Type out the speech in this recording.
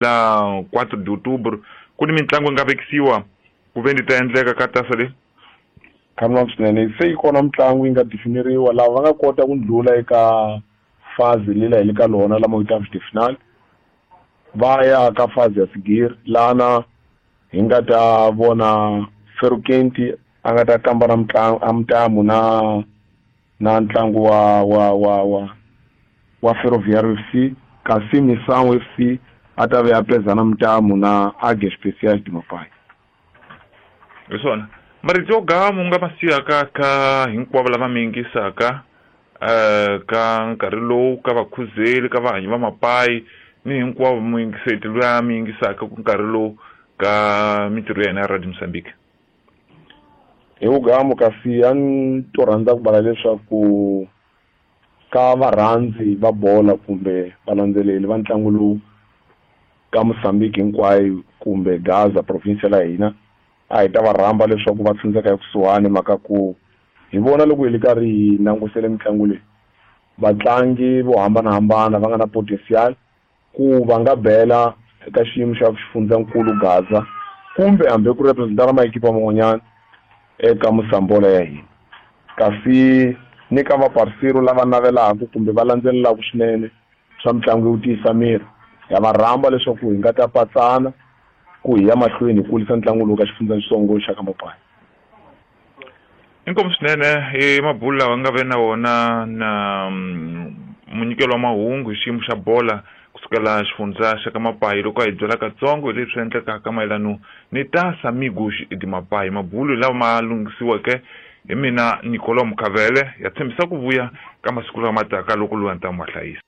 La 4 de outubro ku ni mitlangu yi nga vekisiwa ku ve ni ta endleka ka tasa leyi. Khamlani swinene, se yi kona mitlangu yi nga definiriwa lava va nga kota ku ndlula eka fazi lela hi le ka lona la ma-huitavos de final, va ya ka fazi ya sigiri lana hi nga ta vona Ferukenti a nga ta kamba na mitlangu a mutamu na ntlangu wa Ferroviário FC, kasi Missão FC a ta ve a pezana mutamu na Águias Especiais de Mapai. Hi swona marito yo gamu nga ma siyaka ka hinkwavo lava mi yingisaka ka nkarhi lowu, ka vakhuzeli, ka vahanyi va mapayi ni hinkwavo muyingiseti loyi a mi yingisaka ku nkarhi lowu ka mintirho ya hina ya Radio Mozambique. Hi vugamu, kasi a ni to rhandza ku vala leswaku ka varhandzi va bola kumbe valandzeleri va ntlangu lowu ka Mozambique hinkwayo kumbe Gaza province la hina, a hi ta va rhamba leswaku va tshundzeka ekusuhani, mhaka ku hi vona loko hi le karhi hi langusele mitlangu leyi vatlangi vo hambanahambana va nga na potential ku va nga bela eka xiyimo xa xifundzankulu Gaza kumbe hambi ku representa na maekipa man'wanyana eka Mosambola ya hina. Kasi ni ka vaparsiro lava navelaka kumbe va landzelelaka swinene swa mitlangu yo tiyisa miri, ya va rhamba leswaku hi nga ta patsana ku hi ya mahlweni hi kulisa ntlangu lowu ka xifundzatsongo xa ka Mapai. Inkomu swinene hi mabulu lawa nga ve na wona na munyikelo wa mahungu hi xiyimo xa bola kusukela xifundza xa ka Mapai, loko a hi byela katsongo hi leswi endlekaka mayelano ni Taça Amigos de Mapai. Mabulu lawa ma lunghisiweke hi mina Nicolau Mukhavele, ya tshembisa ku vuya ka masiku lama taka loko loyi a ni ta mu hlayisa.